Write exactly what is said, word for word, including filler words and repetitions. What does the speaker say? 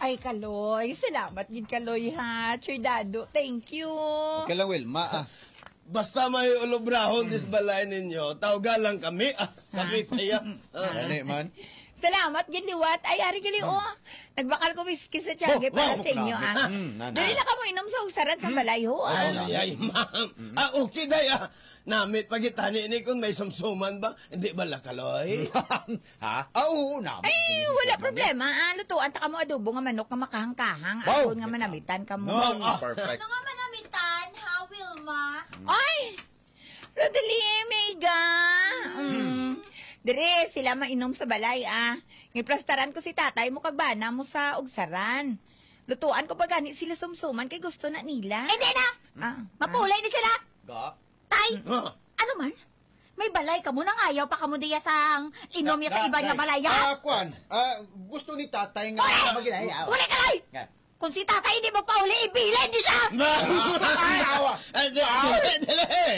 Ay, Kaloy. Salamat gid, Kaloy, ha. Chuy Dado, thank you. Okay lang, Wilma, ah. Basta may ulubrahon dis balay ninyo, tawga lang kami, ah. Kami pa ya. Ah. Gani man. Salamat gid liwat. Ay, ari gali, oh. Nagbakal ko whisky sa Tiyago para sa inyo, ah. Mm, nana. Dali lang kamo inom sa ugsaran sa balay, ho, ah. Ay, ay, ay, ma'am. Ah, okay, day, ah. Namit pagitani ni kung may sumsuman ba. Hindi ba, Lakaloy? Ha? Ah, oo naman. Ay, wala problema, ah. Lutuan ta kamo adobo nga manok nga makahangkahang. Wow! Aron nga manamitan kamo. No, ah. Perfect. Ano nga manamitan, ha, Wilma? Ay! Rodeline, Mega! Mm. Dire, sila mainom sa balay, ah. Ngiplastaran ko si tatay mo kag bana mo sa ugsaran. Lutuan ko pa gani sila sumsuman kay gusto na nila. Hindi na! Ah, Mapulay ni sila! Ga? Tay! Ah. Ano man? May balay kamo, nangayaw pa kamo diya sang inom niya sa iba nga balay, ha? Ah, kwan. Ah, gusto ni tatay nga magilay. Wala ka, Lay! Nga. Kung si tatay hindi magpauli, ibilin niyo siya! Ay, awa. Ay, di, di, di, di.